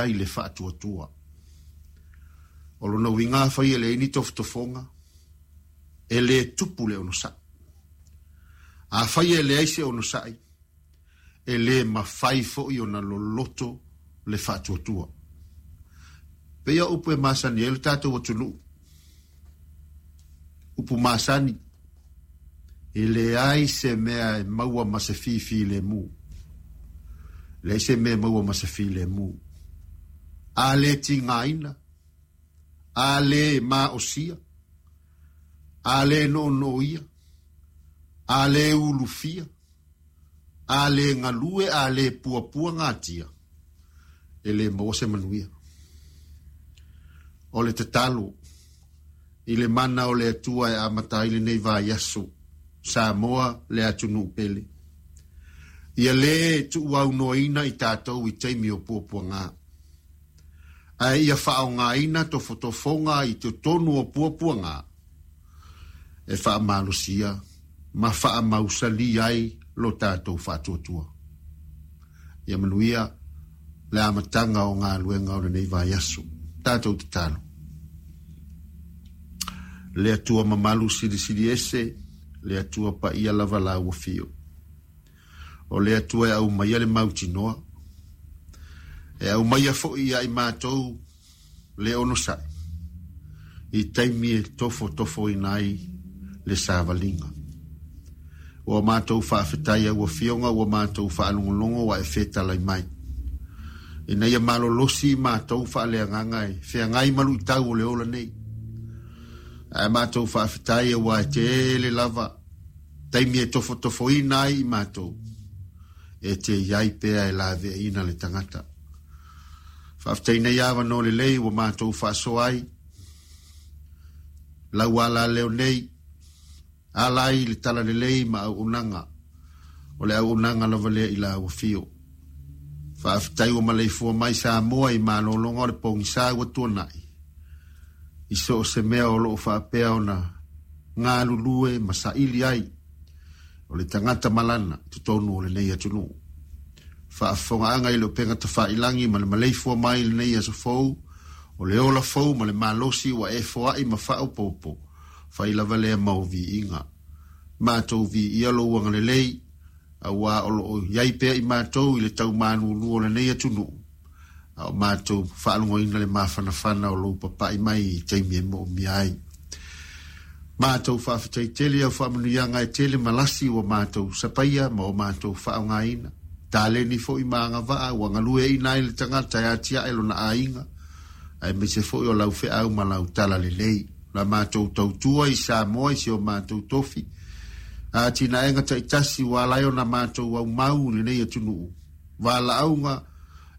Ai le faatuatua. O lona uiga afai e leai ni tofotofoga, e le tupu le onosai. Afai e leai se onosai, e le mafai foi ona loloto le faatuatua. Pei o upu e masani ai lo tatou atunuu. Upu masani, e leai se mea e maua ma se fifilemu. Leai se mea e maua ma se filemu. A le tigaina, a le maosia, a le noonooia, a le ulufia, a le galue, a le puapua gatia, e le maua se manuia. O le tatalo i le mana o le Atua e amata ai lenei vaiaso, Samoa le atunuu pele. Ia lē tuuaunoaina i tatou i taimi o puapuaga, ae ia faaaogaina tofotofoga i totonu o puapuaga e faamalosia ma faamausali ai lo tatou faatuatua. Ia manuia le amataga o galuega o lenei vaiaso. Tatou tatalo. Le Atua mamalu silisili ese, le Atua paia lava lau afio. O le Atua e aumaia le mautinoa, e aumaia foi ia i matou le onosai, i taimi e tofotofoina ai le savaliga. Ua matou faafetai au afioga, ua matou faalogologo ua e fetalai mai. Ina ia malolosi matou faaleagaga e feagai ma luitau o le ola nei. Ae matou faafetai aua e tele lava taimi e tofotofoina ai i matou, e te iai pea e laveaiina le tagata. Faafetai nei avanoa lelei ua matou faasoa ai. Lau alaleo nei, ala ai le talalelei ma auaunaga. O le auaunaga lava lea i lau afio. Faafetai ua maleifua mai Samoa i malologa o le pogisa ua tuanai. I so o se mea o loo faapea ona galulue ma saili ai o le tagata malana i totonu o lenei atunuu. Faafofogaaga i le upega tafailagi ma le maleifua mai i lenei aso fou, o le ola fou ma le malosi ua e foai ma faaopoopo, fai lava lea ma ou viiga. Matou viia lou agalelei, aua o loo iai pea i matou i le taumalulu o lenei atunuu, a o matou faalogoina le mafanafana o lou papai mai i taimi e moomia ai. Matou faafetai tele au faamanuiaga e tele ma lasi ua matou sapaia ma o matou faaaogaina. Taleni foi ma agavaa ua galueaiina ai le tagata e atiae lona aiga, aemaise foi o lau feau ma lau talalelei. La matou tautua i Samoa i si o matou tofi. Atinaega taitasi ua ala ai ona matou aumau i lenei atunuu. Valaauga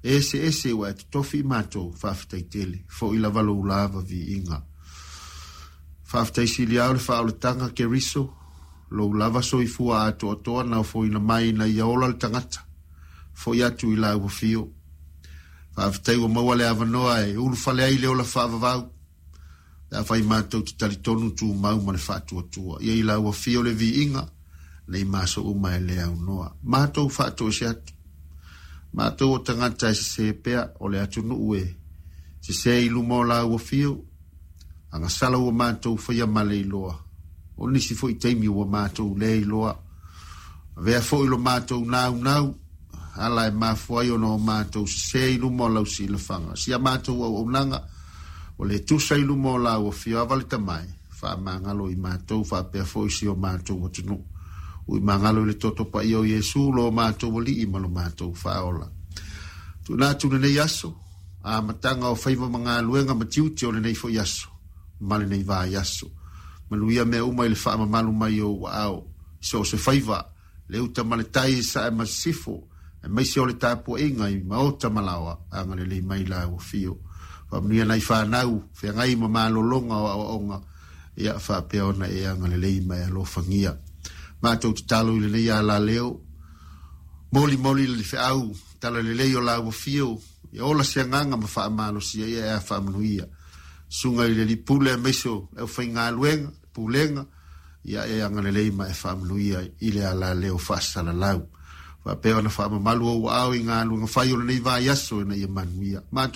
eseese ua e totofi i matou, faafetai tele. Foi lava lou lava viiga. Faafetai sili ao le faaolataga Keriso, lou lava soifua atoatoa na ofoina mai ina ia ola le tagata. Foi atu i lau afio. Faafetai ua maua le avanoa e ulufale ai le ola faavavau. Pe afai matou te talitonu tumau ma le faatuatua. Ia i lau afio le viiga, nei ma aso uma e le aunoa. Matou faatoese atu. Matou o tagata e sese pea o le atunuu e sese i luma o lau afio. Agasala ua matou faia ma le iloa. O nisi foi taimi ua matou le iloa. Avea foi lo matou naunau, ala e mafua ai ona o matou sese i luma o lau silafaga. Si a matou auaunaga, o le tusa i luma o lau afio ava le tamai, faamagalo i matou faapea foi si o matou atunuu. Ui magalo i le toto paia o Iesu lo matou alii ma lo matou faaola. Tuuina atu lenei aso, amataga o faiva ma galuega ma tiute o lenei foi aso, ma lenei vaiaso. Manuia mea uma i le faamamalu mai o ou aao, i so o se faiva, le uta ma le tai i sae ma sisifo, aemaise o le tapuaiga i maota ma laoa, agalelei mai lau afio. Faamanuia nai fanau, feagai ma malologa o aoaoga, ia faapea ona e agalelei ma e alofagia. Matou tatalo i lenei alaleo, molimoli le feau, talalelei o lau afio, ia ola se agaga ma faamalosia ia e a faamanuia. Susuga i le alii pule aemaise o le aufaigaluega, pulega, ia e agalelei ma e faamanuia i le alaleo faasalalau. Faapea ona faamamalu ou aao i galuega fai o lenei vaiaso ina ia manuia. Matou